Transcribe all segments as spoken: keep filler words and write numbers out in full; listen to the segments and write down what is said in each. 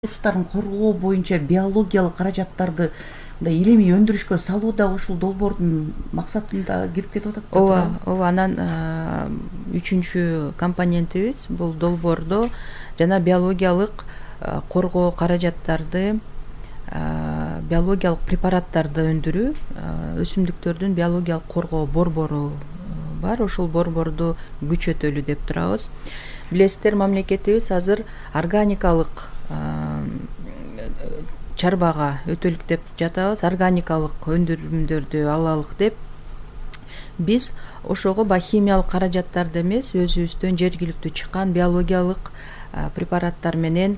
ресурстарын коргоо боюнча биологиялык каражаттарды мындай илимий өндүрүшкө салуу да ушул долбоордун максатында кирип кетип атат да. ооба ооба анан үчүнчү компонентибиз бул долбоордо жана биологиялык коргоо каражаттарды биологиялык препараттарды өндүрүү, өсүмдүктөрдүн биологиялык коргоо борбору бар. Ушул борборду күчөтөлү деп турабыз. Билесиздер, мамлекетибиз азыр органикалык чарбага өтөлүк деп жатабыз. Органикалык өндүрүмдөрдү алалык деп биз ошого баягы химиялык каражаттарды эмес, өзүбүздөн жергиликтүү чыккан биологиялык препараттар менен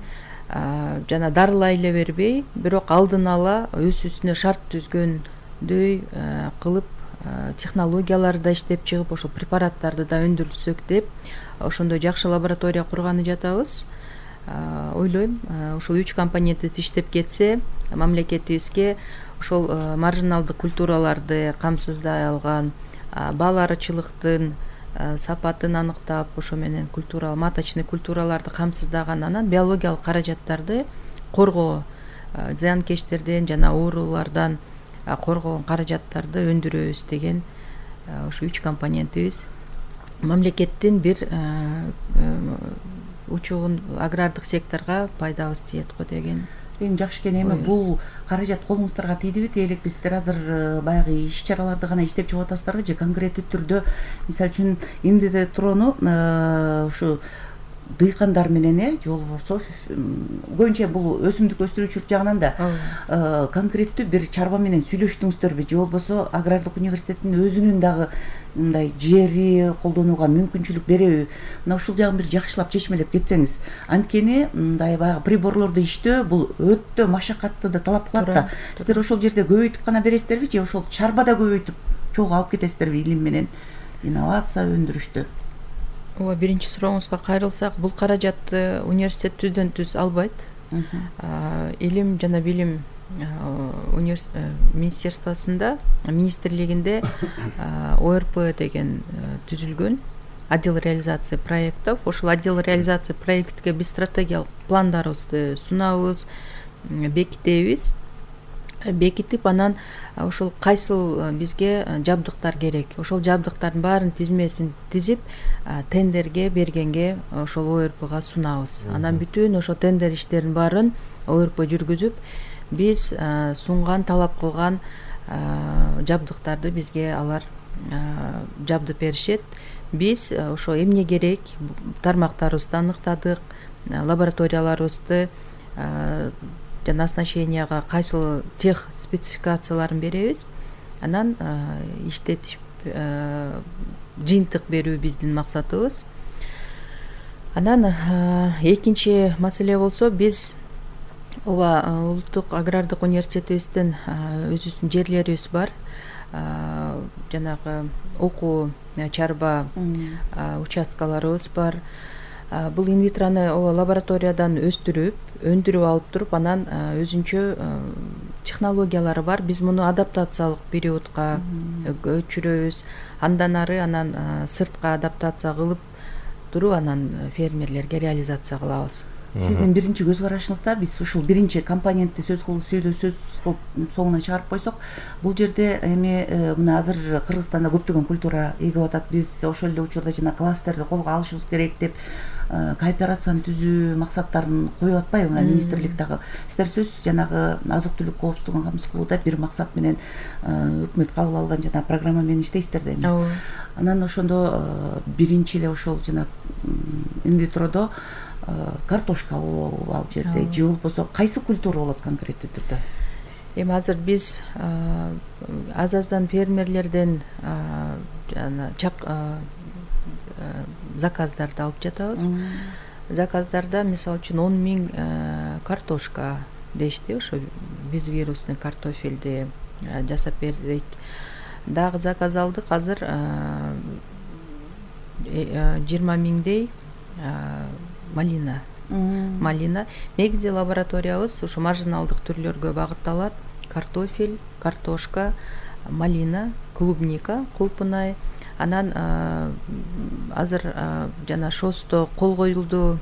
жана дарылай эле бербей, бирок алдын ала өз үстүнө шарт түзгөндөй кылып технологияларды да иштеп чыгып, ошол препараттарды да өндүрсөк деп ошондой жакшы лаборатория курганы жатабыз. Ойлойм, ушул үч компонентибиз иштеп кетсе, мамлекетибизге ошол маржиналдык культураларды камсыздай алган, бааларчылыктын сапатын аныктап, ошо менен культура, маточный культураларды камсыздаган, анан биологиялык каражаттарды коргоо, зыянкечтерден жана оорулардан коргогон каражаттарды өндүрөбүз деген ушу үч компонентибиз мамлекеттин бир учугун агрардык секторго пайдабыз тиет го деген. Эми жакшы экен. Эми бул каражат колуңуздарга тийдиби, тиелек сиздер азыр баягы иш чараларды гана иштеп чыгып атасыздарбы же конкреттүү түрдө, мисалы үчүн инвитрону ушу дыйкандар менен э же болбосо көбүнчө бул өсүмдүк өстүрүүчүлүк жагынан да конкреттүү бир чарба менен сүйлөштүңүздөрбү же болбосо агрардык университеттин өзүнүн дагы мындай жери колдонууга мүмкүнчүлүк береби? Мына ушул жагын бир жакшылап чечмелеп кетсеңиз. Анткени мындай баягы приборлорду иштөө бул өтө машакатты да талап кылат да. Сиздер ошол жерде көбөйтүп гана бересиздерби же ошол чарбада көбөйтүп чогуу алып кетесиздерби илим менен инновация өндүрүштө? Ооба, биринчи сурооңузга кайрылсак, бул каражатты университет түздөн түз албайт. Илим жана билим министерствосунда, министрлигинде О Р П деген түзүлгөн, отдел реализации проектов. Ошол отдел реализации проектке биз стратегиялык пландарыбызды сунабыз, бекитебиз. Бекитип, анан ошол кайсыл бизге жабдыктар керек, ошол жабдыктардын баарын тизмесин тизип, тендерге бергенге ошол О Р Пга сунабыз. Анан бүтүн ошол тендер иштерин баарын О Р П жүргүзүп, биз сунган, талап кылган жабдыктарды бизге алар жабдып беришет. Биз ошо эмне керек тармактарыбызды аныктадык, лабораторияларыбызды жана оснащенияга кайсыл тех спецификацияларын беребиз. Анан иштетип жыйынтык берүү биздин максатыбыз. Анан экинчи маселе болсо, биз ооба улуттук агрардык университетибиздин өзүбүздүн жерлерибиз бар. Жанагы окуу чарба участкаларыбыз бар. Бул инвитрону ооба лабораториядан өстүрүп, өндүрүп алып туруп, анан өзүнчө технологиялары бар. Биз муну адаптациялык периодко өчүрөбүз. Андан ары анан сыртка адаптация кылып туруп, анан фермерлерге реализация кылабыз. Сиздин биринчи көз карашыңызда биз ушул биринчи компонентти сөз кылып сүйлөп сөз кылып соңуна чыгарып койсок, бул жерде эми мына азыр Кыргызстанда көптөгөн культура эгип атат. Биз ошол эле учурда жана кластерди колго алышыбыз керек деп кооперацияны түзүү максаттарын коюп атпайбы мына министрлик дагы? Сиздер сөз жанагы азык түлүк коопсуздугун камсыз кылууда бир максат менен өкмөт кабыл алган жана программа менен иштейсиздер да эми. Анан ошондо биринчи эле ошол жана инвитродо картошка болобу ал жерде же болбосо кайсы культура болот конкреттүү түрдө? Эми азыр биз аз аздан фермерлерден жана заказдарды алып жатабыз. Заказдарда мисалы үчүн он миң картошка дешти, ошо биз вирусный картофелди жасап бердик. Дагы заказ алдык, азыр жыйырма миңдей малина. Малина. Негизи лабораториябыз ушу маржиналдык түрлөргө багытталат. Картофель, картошка, малина, клубника, кулпунай. Анан азыр жана шосто кол коюлду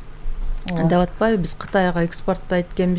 деп атпайбы, биз Кытайга экспорттойт экенбиз